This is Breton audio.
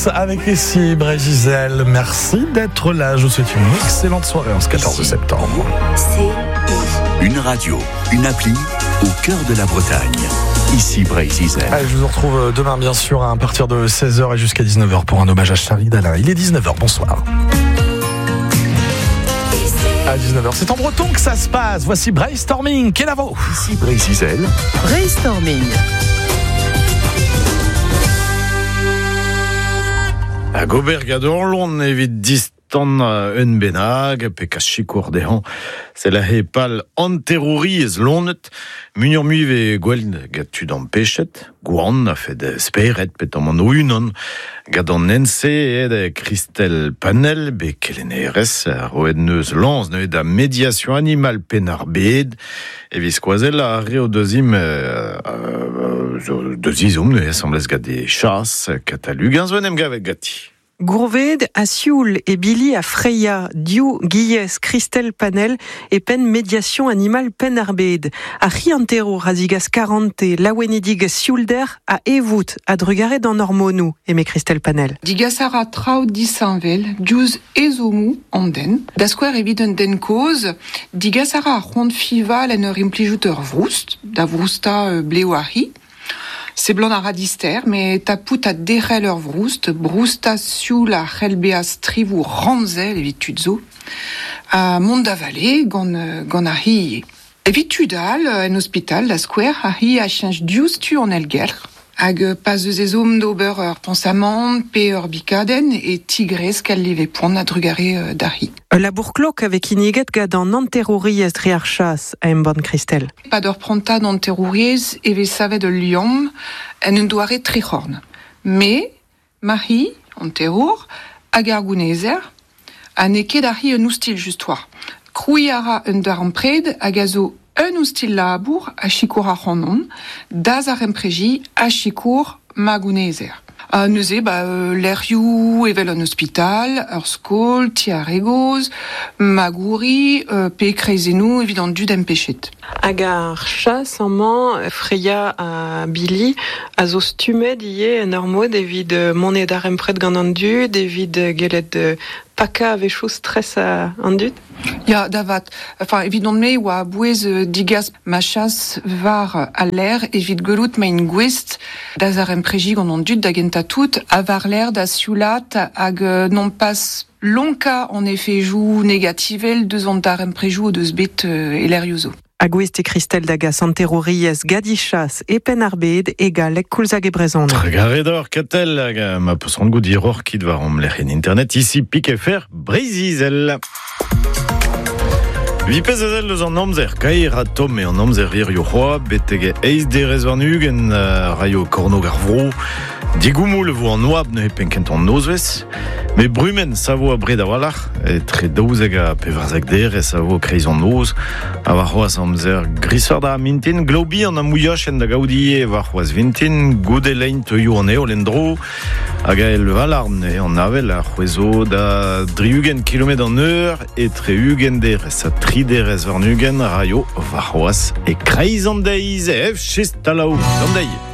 tous avec ici Breizh-Izel. Merci d'être là. Je vous souhaite une excellente soirée en ce 14 septembre. C I. Une radio, une appli au cœur de la Bretagne. Ici Breizh-Izel. Allez, je vous retrouve demain bien sûr à partir de 16h et jusqu'à 19h pour un hommage à Charlie Dalin. Il est 19h, bonsoir. À 19h, c'est en breton que ça se passe. Voici Brainstorming, Kenavo. Ici Breizh-Izel. Brainstorming. Hag ober gant Orlon evit distan un bennak pe kas sikour dezhañ. Se la he pal anterouriezh lonet, muioc'h mui ve gwell gant tud ampechet, gwan a fet speret pe tamm an o-unan, gant an NC ed Christelle Panel, be kelennerez, roet neus lañs neuze da médiation animale Penn-ar-Bed, evit skoazell ar re o deus im deus izhomm neuze asambles gant e chas katalugañ zo en em gavet ganti. Gourved a Sioul e Billy a Freya, Diou, Guillez, Christelle Panel e penn médiation animale Penn-ar-Bed. A c'hi antero razigas 40 laouenedig sioulder a evout a drugare d'an hormonou, eme Christelle Panel. Digas a ra traoù disheñvel, diouzh ezhommoù an den. Da skouer evit un den kozh, digas a ra ar c'hoant fival en ur implijout ur vroust, da vroustañ blev ar c'hi. Seblant a ra dister, met tapout ha derc'hel ur vroust, broustañ sioul a c'hell bezañ strivoù ramzel evit tud zo, ha mont da vale gant, gant ar c'hi ivez. Evit tud all, en ospital, da skouer, ar c'hi a cheñch diouzhtu an aergelc'h, hag pa 'z eus ezhomm d'ober ur pañsamant pe ur bikadenn e tigresk al live poan a-drugarez d'ar c'hi. Ul labour klok a vez kinniget gant an hanterouriezh dre ar chas, a embann Christelle. E-pad ur prantad hanterouriezh e vez savet ul liamm en un doare tric'horn. Me, ma c'hi, hanterour, hag ar gounezer, ha n'eo ket ar c'hi un oustilh just 'oa. Krouiñ a ra un darempred hag a zo un oustilh labour a sikour ac'hanon da zaremprejiñ ha sikour ma gounezer. Ha neuze ba lec'hioù evel an ospital, ur skol, ti ar re gozh, magouri pe kreizennoù evit an dud empechet. Hag ar chas amañ, Freya ha Billy, a zo stummet ivez en ur mod evit mont e darempred gant an dud, evit gellet pakañ a-wechoù stress an dud. Ya, da vat. Enfin, evidon-me e oa a-bouez digas ma chas war al lec'h evit gwelout ma int gouest da zaremprejiñ gant an dud da gentañ tout, ha war-lerc'h da sioulat hag nompas lonkañ an efejoù negativel deus an daremprejoù o deus bet e lec'hioù zo. Ha gouest eo Christelle da gas an terrouriezh Gadichas e Penn-ar-Bed e galleg koulz hag e brezhoneg. Trugarez deoc'h Katell hag ma peus c'hoant goût hiroc'h kit war hom lec'hienn internet ici pik fr Breizh-Izel. Vi pezh a sell eus an amzer kaer ha tomm eo an amzer hirio c'hoazh betek eizh derez warn-ugent raio kornôg ar vro. Digoumoul e vo an oabl neuze penn-kentañ an nozvezh. Met brumenn savo abred a-walc'h, etre 12 ha 14 derez a vo kreiz an noz. Ha warc'hoazh amzer grisoc'h da mintin, glav bihan ha mouilhochenn da gaout ivez warc'hoazh vintin. Goude lein teuio an heol en-dro. Hag ael Valarn eo an avel a c'hwezo da 60 kilometr an eur, etre 20 derez ha 3 derez warn-ugent raio warc'hoazh e kreiz an deiz. Ef chist talaou, d'an deiz.